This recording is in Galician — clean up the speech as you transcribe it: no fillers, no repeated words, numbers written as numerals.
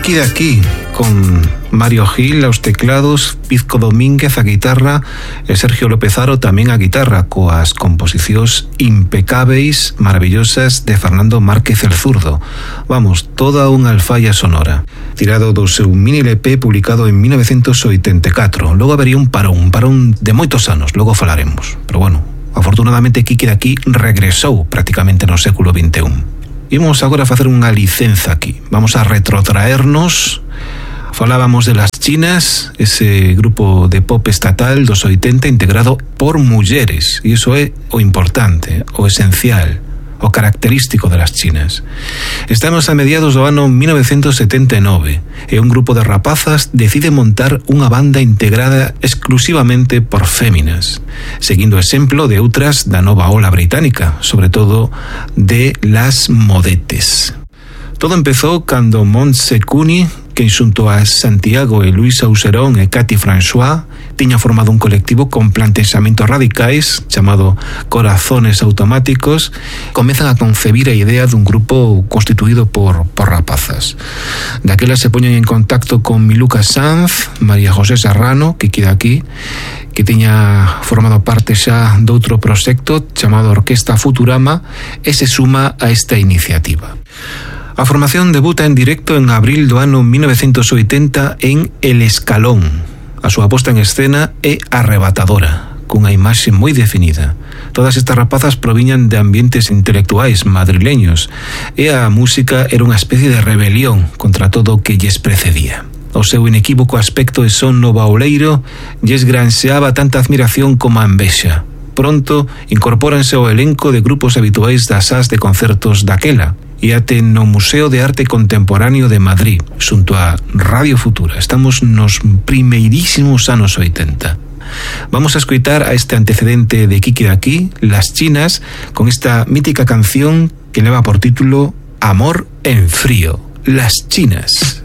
Kiki de aquí, con Mario Gil aos teclados, Pizco Domínguez a guitarra e Sergio López-Haro tamén a guitarra, coas composicións impecáveis, maravillosas de Fernando Márquez el Zurdo. Vamos, toda unha alfalla sonora. Tirado do seu mini LP publicado en 1984. Logo habería un parón de moitos anos, logo falaremos. Pero bueno, afortunadamente Kiki de aquí regresou prácticamente no século XXI. Imos agora a facer unha licenza aquí. Vamos a retrotraernos. Falábamos de Las Chinas, ese grupo de pop estatal dos 80 integrado por mulleres. E iso é o importante, o esencial, o característico de Las Chinas. Estamos a mediados do ano 1979 e un grupo de rapazas decide montar unha banda integrada exclusivamente por féminas, seguindo o exemplo de outras da nova ola británica, sobre todo de Las Modetes. Todo empezou cando Montse Cooney, que xunto a Santiago e Luis Auserón e Cathy François tiña formado un colectivo con plantexamentos radicais chamado Corazones Automáticos, comezan a concebir a idea dun grupo constituído por rapazas. Daquela se poñen en contacto con Miluca Sanz, María José Serrano, que queda aquí, que tiña formado parte xa doutro proxecto chamado Orquesta Futurama, e se suma a esta iniciativa. A formación debuta en directo en abril do ano 1980 en El Escalón. A súa posta en escena é arrebatadora, cunha imaxe moi definida. Todas estas rapazas proviñan de ambientes intelectuais madrileños e a música era unha especie de rebelión contra todo o que lles precedía. O seu inequívoco aspecto e son novauleiro lles granxeaba tanta admiración como a envexa. Pronto incorpóranse ao elenco de grupos habituais das sas de concertos daquela, e até no Museo de Arte Contemporáneo de Madrid, xunto a Radio Futura. Estamos nos primeirísimos anos 80. Vamos a escoitar a este antecedente de Kiki de aquí, Las Chinas, con esta mítica canción que leva por título Amor en frío, Las Chinas.